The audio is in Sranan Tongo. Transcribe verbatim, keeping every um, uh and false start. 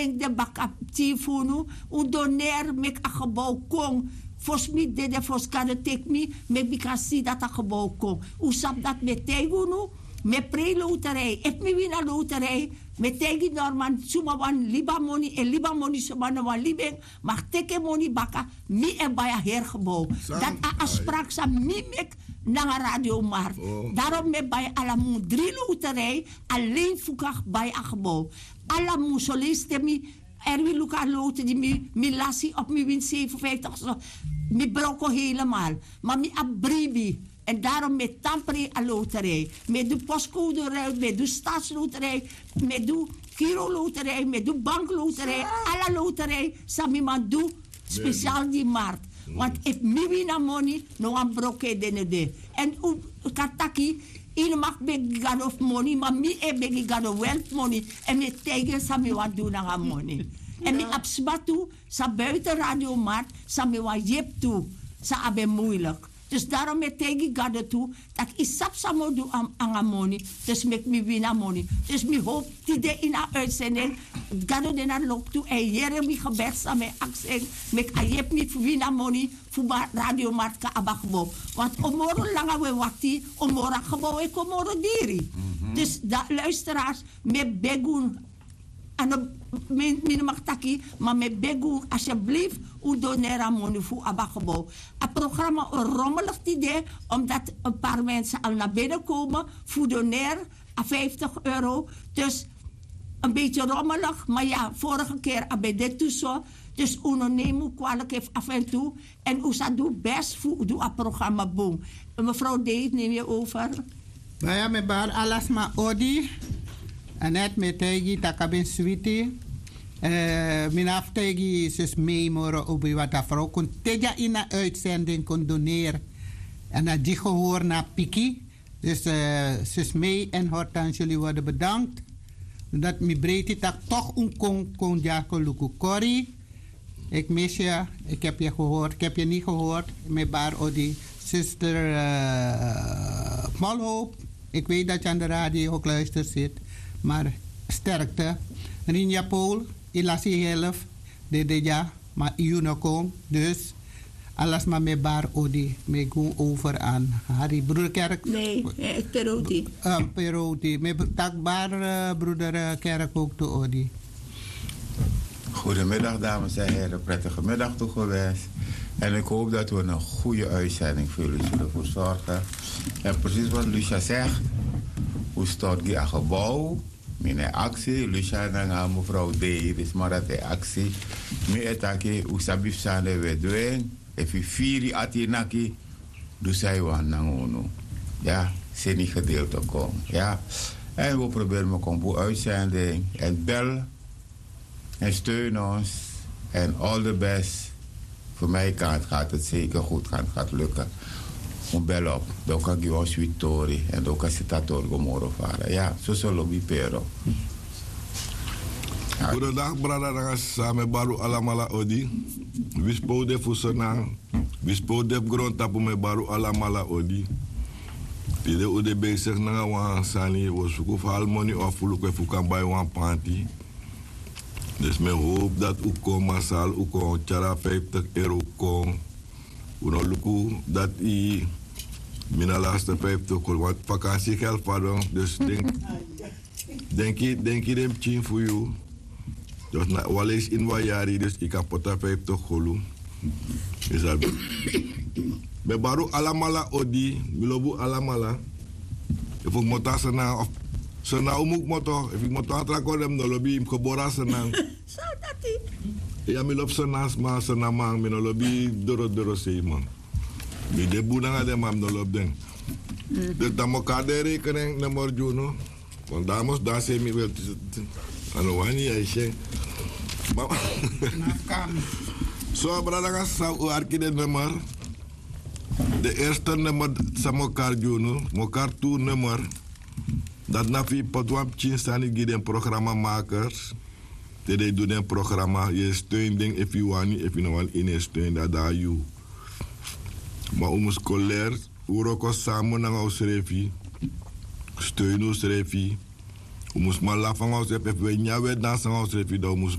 Brengi den baka pikin fu unu. Un doneri meki a gebou kon. Fosi mi dede, fosi Gado teki mi, meki mi kan si dati a gebou kon. Un sabi dati mi e taigi unu. Mi e prei loterij. Efu mi wini a loterij, mi e taigi norman, suma wani libi a moni e libi a moni, suma no wani libi en, ma teki en moni baka. Mi e bai a heri gebou. Dati a afsprak san mi meki nanga Radio Markt. Darom mi e bai ala mun dri loterij, alen fu kan bai a gebou. Ala mun, soleisi te mi erwin luku a lotu di mi lasi op mi wini seifenfijftig so, mi broko helemal. Ma mi abi bribi. Èn darom mi e tan prei a loterij. Mi e du postkoderuil, mi e du stadsloterij, mi e du kiroloterij, mi e du bankloterij, ala loterij san mi man du. Spesial gi markt. Want efu mi wini a moni, no wan broko e de no de. Èn un kan taki, yu no mag begi gado fu moni, ma mi e begi gado wel fu moni. Èn mi e taigi en san mi wani du nanga moni. Èn mi abi sma tu, san buiten Radio Markt, san mi wani yepi tu, san abi en muilik. Dus darom mi e taigi gado tu, tak' yu sabi san mi o du nanga moni. Dus meki mi wini a moni. Dus mi howpu tide ini a uitsending, gado de na loktu èn yere mi gebed san mi e aksi en, meki a yepi mi fu wini a moni fu Radio Markt kan abi a gebou. Want o moro langa un e wakti, o moro a gebou e kon moro diri. Dus luisterars, mi e begi unu, a no, mi no mag taki, ma mi e begi unu, alsjeblieft, un doneri a moni fu un abi a gebou. A programma o romelig tide, omdat een paar mensen al naar binnen komen fu doneri a vijftig euro. Dus een beetje rommelig, maar ja, vorige keer a ben de tu so. Dus un no nemi un kwalik efu af en tu. Èn un sa du best fu du a programma bun. Mevrouw Dave, neem je over. Baya, mi e bari ala sma odi. Anet, mi e taigi tak' a ben switi. Mi no abi fu taigi sus Mei moro obi, want a vrouw kon te dya ini a uitzending kon doneri. Èn a gi gehori na a piki. Dus sus Mei en Hortense, jullie worden bedankt. Dat mi breiti tak' toch un kon kon dya kon luku Corrie. Ik mis je, ik heb je gehoord, ik heb je niet gehoord. Mi e bari odi, zuster Molhoop. Ik weet dat je aan de radio gekluisterd zit, maar sterkte. Rinja Paul, yu lasi yu helft, dede dya, ma yu no kon. Dus ala sma, mi e bari odi, mi e go over aan Harry, broeder Kerk. Nee, eh, Peroti. Eh, Peroti. Mi e bari, eh, broeder, eh, Kerk ook tu odi. Goedemiddag dames en heren, prettige middag toegewenst. En ik hoop dat we een goede uitzending voor jullie zullen verzorgen. En precies wat Lucia zegt, un stort gi a gebou, mi no e aksi Lucia nanga mevrouw Dei, dus ma dati e aksi. Mi e taki, un sabi fu san den we du en, efu yu firi ati naki, du san yu wani nanga unu. Ya, seni gedeelte kon. Ya. En we proberen mi kon bun uitzending. En bel en steun ons. En all the best. Voor mij kan het, gaat het zeker goed gaan, het gaat lukken. Un bel op. Dan kan gi wan switi tori. En dan kan sitatori go moro fara. Ya, so so lobi Pero. Goedendag brada nanga sisa, mi e bari un alamala odi. Wi spo un de fu Sranan, wi spo un de fu grontapu, mi e bari un alamala odi. Tide un de bezig nanga wan sani, un o suku fu hali moni of fu luku efu un kan bai wan panti. Dus mi e howpu dati un kon masal, un kon tyari a vijftig euro kon. Un no luku dati mi na laste vijftig kon, want vakansi geld fadon, dus denk Denki, denki den pikin fu yu. Dus na wan leisi ini wan yari, dus yu kan poti a vijftig golu. Yu sabi. Mi e bari un alamala odi, mi lobi un alamala. Efu un kmoto na Sranan of Sranan un mu kmoto, efu yu kmoto na tra kondre, mi no lobi yu, mi gebore na Sranan. So dati. Ya, mi lobi Sranan sma, Sranan man, mi no lobi doro doro sei man. Mi de bun nanga den, ma mi no lobi den. Dus dan mi o kari den rekening nummer gi unu. Want dan mi o dansi mi wel. A no wani yu e si en. Ma so brada nanga sisa, un arki den nummer. Den eerste nummer san mi o kari gi unu, mi o kari tu nummer. Dati na fu yu poti wan pikin sani gi den programmamakers. Te den e du den programma, yu e steun den efu yu wani, efu yu no wani, yu no e steun den, a de na yu. Ma un mus kon leri wroko samen nanga unsrefi, steun unsrefi. Un mus man lafu nanga unsrefi, efu un e nyan, un e dansi nanga unsrefi, dan un mus